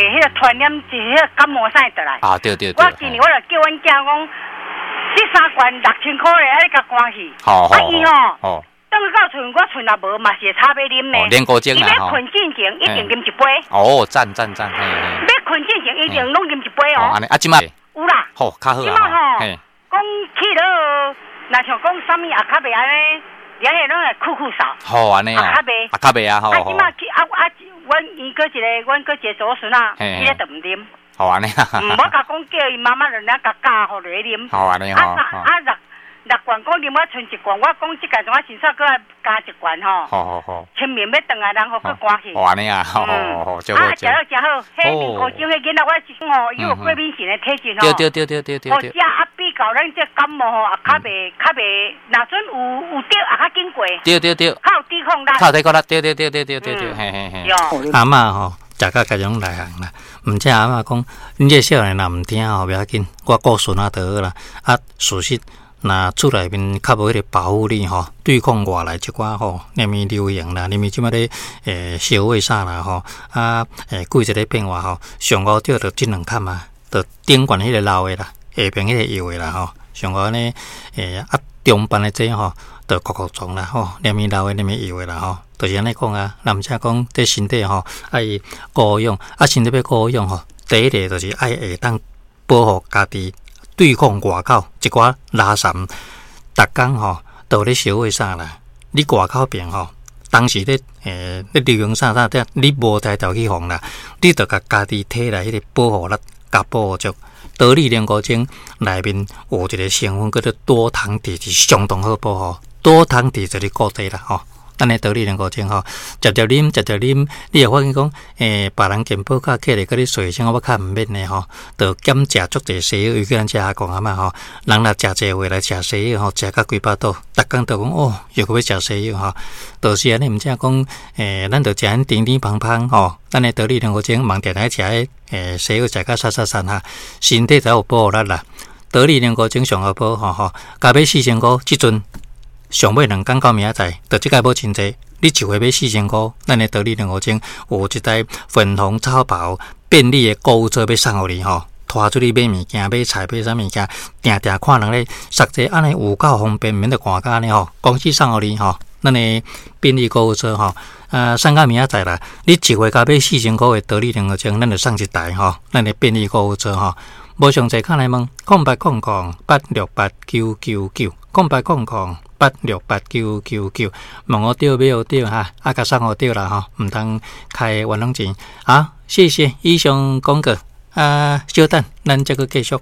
彼个傳染是彼个感冒啥會倒來。啊，對對對。我今年我就叫阮囝講，這三罐6000箍的，愛你共關去。好好。啊伊吼，轉到厝我厝若無嘛是會吵欲啉呢。練過精啦。伊欲睏進前一定啉一杯。哦，讚讚讚，嘿嘿。欲睏進前一定攏啉一杯哦。按呢，啊，這擺。有啦。好，較好啊。這擺吼，講去了，若像講啥物也較袂按呢，連下攏會咳咳嗽。好，按呢啊。較袂。啊，較袂啊，好。啊，這擺去啊啊，阮伊閣一个，阮閣一個祖孫仔，伊咧就毋啉。好按呢。嗯，我共講叫伊媽媽就爾共教予落去啉。好按呢吼。啊啊六六罐講啉我賰一罐，我講這屆陣我先煞閣愛加一罐吼。好好好。清明欲轉來，人予閣寒去。好按呢啊，好好好，啊，食了誠好，彼面糊精彼囡仔我是講吼，伊有過敏性的體質吼。對對對對對對。哦，食啊比較咱這感冒吼，也較袂較袂，若準有有得也較緊過。對對對。較有抵抗力。較有抵抗力，對對對對對對對，嘿嘿嘿。阿嬤吼，食甲家種內行啦，毋才阿嬤講，恁這少年若毋聽吼，袂要緊，我顧孫仔就好啦。啊，事實若厝內面較無彼个保護力吼，對抗外來一寡吼，啥物流行啦，啥物這擺咧社會啥啦吼，啊季節咧變化吼，上五著就這兩坎啊，就頂懸彼个老的啦，下爿彼个幼的啦吼，上五按呢啊中班的這吼，就各各種啦吼，啥物老的，啥物幼的啦吼，就是按呢講啊。若毋才講這身體吼愛顧養，啊身體欲顧養吼，第一個就是愛會當保護家己。對抗外口一寡垃圾，逐工吼都咧燒火啥啦？你外口爿吼，當時咧咧流行啥啥，你無才調去防啦，你著共家己體內彼个保護力共保護足。多利龍骨精內面有一個成分叫做多糖體，是相當好保護。多糖體就是固體啦吼。咱的多利龍骨精吼，食食啉，食食啉，你會發現講，別人健保卡客咧，閣咧洗身，我較毋免的吼，就減食足濟西藥，尤其咱這阿公阿嬤吼，人若食濟話來食西藥吼，食甲規腹肚，逐工都講哦，又閣欲食西藥吼，就是按呢，毋才講，咱就食恁甜甜芳芳吼，咱的多利龍骨精，嘛定定食彼西藥食甲瘦瘦瘦哈，身體才有保護力啦。多利龍骨精上好保吼吼，共買4000箍，這陣。上尾兩工到明仔載，就這擺無真濟。你一回買四千箍，咱的多利龍骨精有一台粉紅超跑便利的購物車欲送予你吼，拖出去買物件、買菜、買啥物件，定定看人咧實際按呢有夠方便，毋免得趕甲按呢吼。公司送予你吼，咱的便利購物車吼，送到明仔載啦。你一回共買四千箍的多利龍骨精，咱就送一台吼，咱的便利購物車吼。無詳細，敲來問0800868999，0800868999，問予著買予著哈，啊，共送予著啦吼，毋通開冤枉錢。好，謝謝以上廣告，啊，稍等，咱再閣繼續。